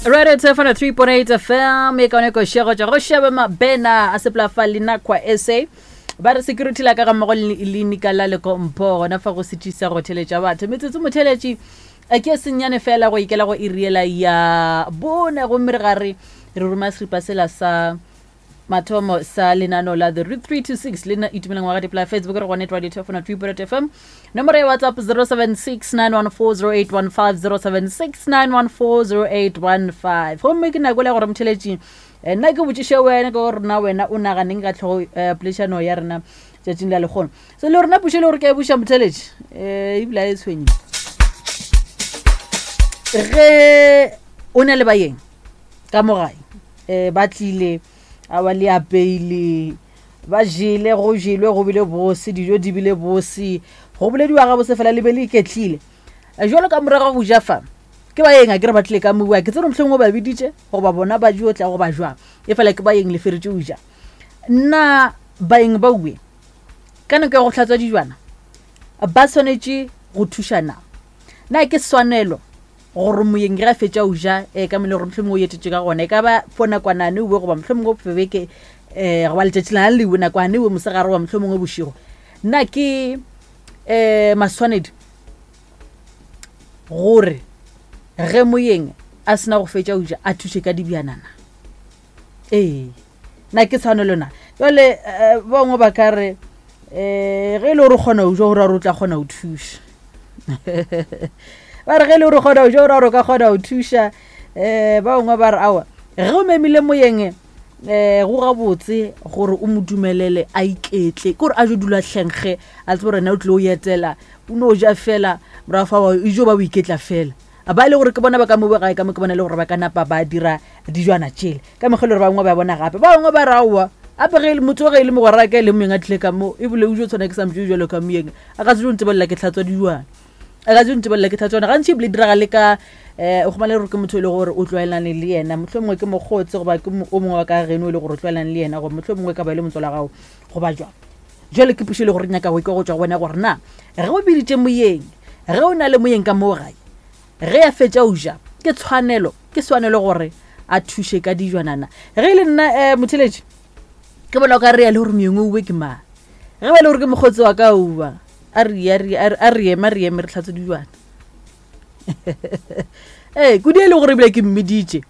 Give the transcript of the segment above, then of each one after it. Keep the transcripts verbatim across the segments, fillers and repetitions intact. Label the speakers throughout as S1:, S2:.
S1: Radio Tefano three point eight F M e kaone košego tša go šeba mabena a sepela fa Linakwa S A ba re security la ka ga mmogo le lenika la lekompo gona fa go setšisa go theletša batho metsotso motheletši eh, ke senyane fela go ikela go iriela ya bone gomme re gare re roma seripa sela sa mathomo sa lenano la The Root three two six le nna Itumeleng wa ga Dipla. Facebook re gone Radio Tefano three point F M, nomoro ya WhatsApp zero seven six nine one four zero eight one five, zero seven six nine one four zero eight one five. Gomme ke nako le ya gore motheletši eh, nna ke botšiše wena ke gore na wena o naganeng ka tlhogo eh, poledišano ya rena tšatšing la lekgono. So le rena pušo le gore ke a e buša motheletši um ebile a e tshwenye ge o na le bayeng ka mo gae um ba tlile a ba le apeile, ba jele, go jelwe, go bile bose, dijo di bile bose, go bolediwa ga bose fela, le be le iketlile. Eh, jwalo ka morago go ja fa ke bayeng a ke re ba tlile ka moua ke tsere mohlomongwe ba biditše goba bona ba jo tla goba jwang, e fela ke bayeng le feretše o ja. Nna baeng ba ue ka nako ya go hlatswa dijwana ba swanetše go thušana? Na ke swanelo gore moyeng ge a fetša o ja um ka mele gore mohlomongwe o etetše ka gona, e ka ba fo nakwanane ue goba mohlomongwe beke um goba letšatši lana lewe nakwane ue mosegare goba mohlomongwe bošego, nna ke um maswanedi gore ge moyeng a sena go fetša o ja a thuše ka dibjanana? Ee, na ke tshwanelo na? Jale eh, bangwe ba ka re um ge e le gore o kgona go ja gore o tla kgona go thuša, ba re ge e le gore o kgona go ja gore o ka kgona go thuša. um ba bangwe ba re aowa, ge o memile moyeng um go gabotse gore o mo dumelele a iketle, ke gore a jo dula tlhenkge a tsebe gore ena o tlile o etela, o no ja fela, morago fa e jo ba o iketla fela. Ba e le gore ke bona ba ka mo gae ka mo ke bona e le gore ba ka napa ba dira dijwana tšele ka mekgwa e le gore ba bangwe ba bona gape. Ba bangwe ba re aowa, ape ge e le motho ge e le mogwera ka e le moyeng a tlile ka mo ebile o jo tshwana ke sa motho jalo ka moyeng a ka se jo ntebelela ke tlhatswa dijwana, a ka se jo ntebelela ke tlhatswa. Gantši ebile diragale ka um o kgomane gore ke motho e le gore o tlwaelane le yena, motlho mongwe ke mokgotsi goba ke o mongwe wa ka geno e le gore o tlwaelane le yena, goba motlho mongwe ka ba e le motswala gago goba jwang. Jale ke pušo e le gore nyaka go ikwa go tswa go wena gore na ge o biditše moyeng, ge o na le moyeng ka moo gae, ge a fetša o ja, ke tshwanelo ke tshwanelo gore a thuše ka dijwanana? Ge e le nna um motheletši ke bona o ka re ya le gore moyeng o uwe ke mang. Ge ba le gore ke mokgotsi wa ka uwa a re a re a re ema re eme re tlhatswe dijwana ee kudu e le gore ebile ke mmeditše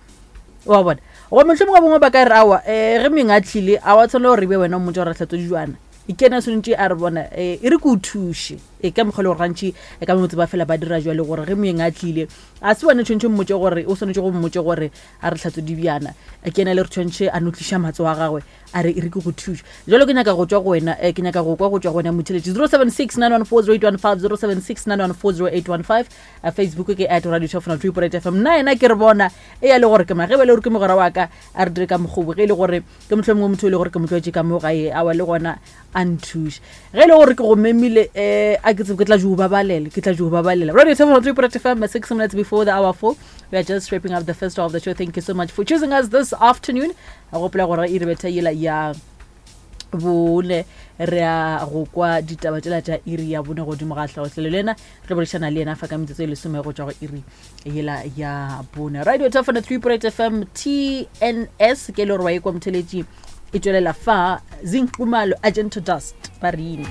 S1: wa bona, goba mohlomongwe bongwe ba ka re aowa, um ge moyeng a tlile a wa tshwanela gore e be wena o mmotsa gore re tlhatswe dijwana, e ke ena tshwanetse a re bona um e re ke o thuše. E ka mokgwa le gore gantši e ka motse ba fela ba dira jwale gore ge moyeng a tlile a se wena tshwanetse mmotse gore o swanetše go mmotse gore a re tlhatswe dibjana, ke ena le re tshwanetse a no tliša matso a gagwe a re e re ke go thuša. Jalo ke nyaka go tswa go wena, eh, ke nyaka go kwa go tswa go wena motheletši. zero seven six nine one four zero eight one five, zero seven six nine one four zero eight one five. Facebook ke at Radio Tofana three point eight F M. Nna yena ke re bona e ya le gore ke ma ge ba le gore ke mogwera wa ka a re dire ka mokgobo, ge e le gore ke motlho mongwe motho e le gore ke motlwaetše ka mo gae awa le gona a nthuše, ge e le gore ke go memile um a ke tsebe ke tla jo babalela, ke tla jo babalela. Radio Tofana three point eight F M, six minutes before the hour four. We are just wrapping up the first hour of the show. Thank you so much for choosing us this afternoon. A gopola gore e re betha yela ya bone re a go kwa ditaba tšela tša iri ya bone godimo ga tlhagotlhelo le ena re boledišana le yena fa ka metsotso e lesome go tšwa go iri yela ya bone. Radio Tafana three point F M T N S ke e le gore wa e kwa motheletši e tšwelela fa Zinqumalo Agento Dust ba rene.